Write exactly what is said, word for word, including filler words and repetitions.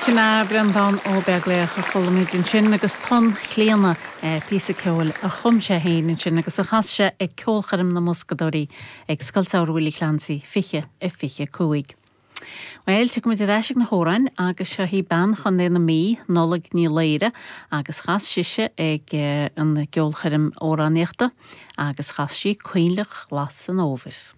Sin é Breandán Ó Beaglaoich a chuala muid ansin agus Tonn Chlíona píosa ceoil a chum sé féin ansin agus a chas sé ag ceolchoirm na mBoscadóirí ag Scoil Samhraidh Willie Clancy fiche a fiche cúig. Well tiocfaimid ar ais ag na hamhráin agus seo í bean Chontae na Mí Nollaig Ní Laoire agus chas sise ag an gceolchoirm amhránaíochta agus chas sí Coinnleach Ghlas an Fhómhair.